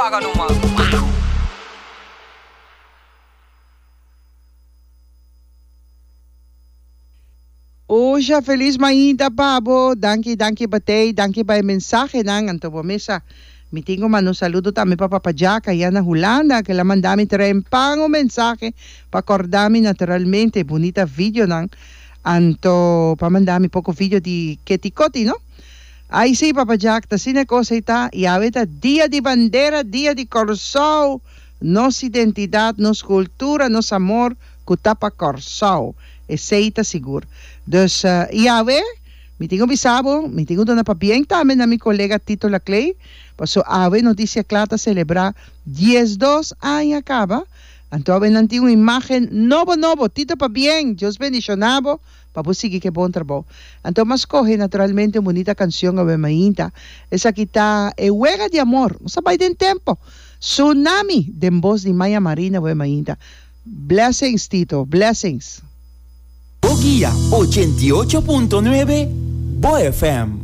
Paga numa. Usha felis mainta pa bo. Danki danki Batey, danki pa e mensahenan. Anto bo mesa mi tin ku manda un saludo tambe pa Papa Jack aya na Hulanda ke la manda mi trempan un mensahe pa korda mi naturalmente bunita videonan. Anto pa manda mi poko video di Keti Koti no. Ai si Papa Jack ta asina e kos ei ta i awe ta dia di bandera dia di Kòrsou nos identidat nos kultura nos amor ku ta pa Kòrsou esei ta sigur dus i awe mi tin ku bisa bo mi tin ku duna pabien tambe na mi kolega Tito Laclay paso awe Noticia Kla ta selebrá 12 aña kaba anto awe nan tin un imagen nobo nobo Tito pabien Dios bendishoná bo Pa bo sigui ke bon trabou. Anto m'a skohe naturalmente un bunita kansion awe mainta. Esaki ta E Wega di Amor. Nos a bai den tempo. Tsunami! Den bos di Maya Marina awe mainta. Blessings Tito, blessings. Bo guia 88.9 Bo FM.